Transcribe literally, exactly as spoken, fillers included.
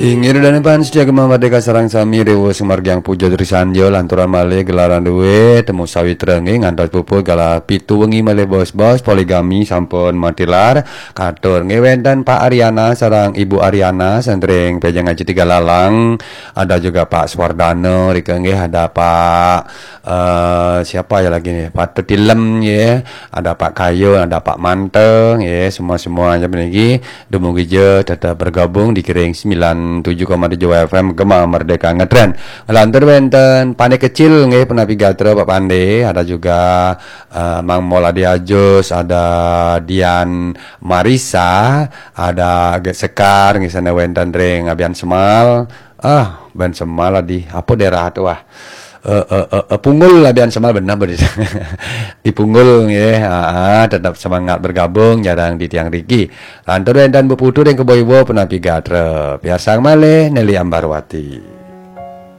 Inggih, Ida dané pan setia Gema Merdeka sareng sami, riwus margiang puja trisanjo, lanturan malih gelaran dué, temu sawitra nggih, ngantos puput galah pitu wengi malih bos-bos, poligami sampun matilar. Katur nggih wénten Pak Ariana sareng Ibu Ariana, santring Pejeng Aji Tiga Lalang, ada juga Pak Suwardana, rika nggih ada Pak, eh, siapa ya lagi nih, Pak Tetilem nggih, ada Pak Kayun, ada Pak Manteng nggih, semua-semua aja niki. Dumugi ja tetap bergabung di Kering sembilan tujuh koma tujuh F M Gema Merdeka Ngetren. Lantur wénten Pandé Kecil nggih, punapi gatra Pak Pandé, ada juga eh, Mang Mol Adi Ajus, ada Dian Marisa, ada Agek Sekar nggih, sané wénten ring Abian Semal. Ah, Abian Semal di apa daerah tu ah? Eh, eh, eh, eh, Punggul, Abian Semal benar benar. Di Punggul nggih, ah, ah, tetap semangat bergabung sareng titiang riki. Lantur wénten Bu Putu ring Kebo Iwa, punapi gatra. Piarsang malih Nelly Ambarwati.